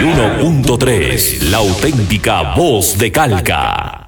91.3, la auténtica voz de Calca.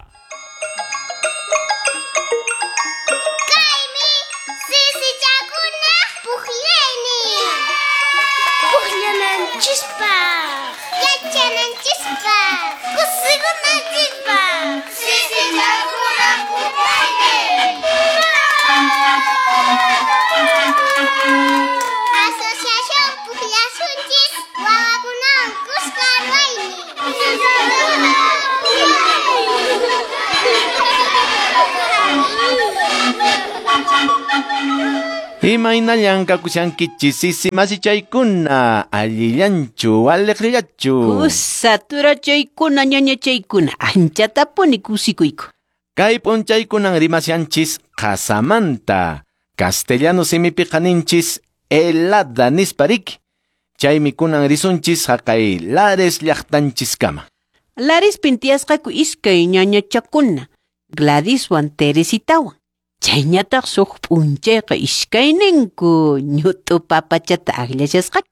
Imaynallan kakushankichis sisi masichaykuna, allillanchu, aliqllachu. Kusa turachaykuna ñañachaykuna, anchatapuni kusikuyku. Kay p'unchaykunan rimashanchis qasamanta, castellano simipiqa ninchis helada nisparik. Chaymi kunan risunchis haqay Lares llaqtanchiskama. Larespin tiyasqaku iskay ñañachakuna, Gladyswan Teresitawan. Chayñataq suq p'unchayqa iskayninku ñut'u papachata akllashasqaku.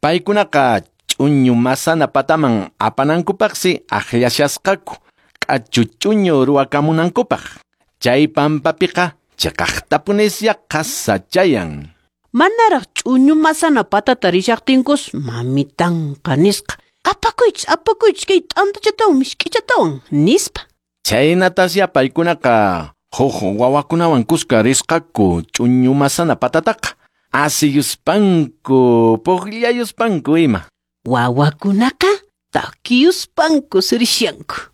Paykunaqa ch'uñu masana pataman apanankupaqsi akllashasqaku, k'achu ch'uñu ruwakamunankupaq. Chay pampapiqa chiqaqtapunisya qasa chayan. Manaraq ch'uñu masana patata rishaqtinkus mamitanqa nisqa, apakuychis, apakuychis kay t'antachatawan misk'ichatawan nispa. Chaynatasya paykunaqa huk wawakunawan kuska risqaku ch'uñu masana patataqa, asiyuspanku, puqllayuspanku ima. Wawakunaqa takiyuspanku rishanku.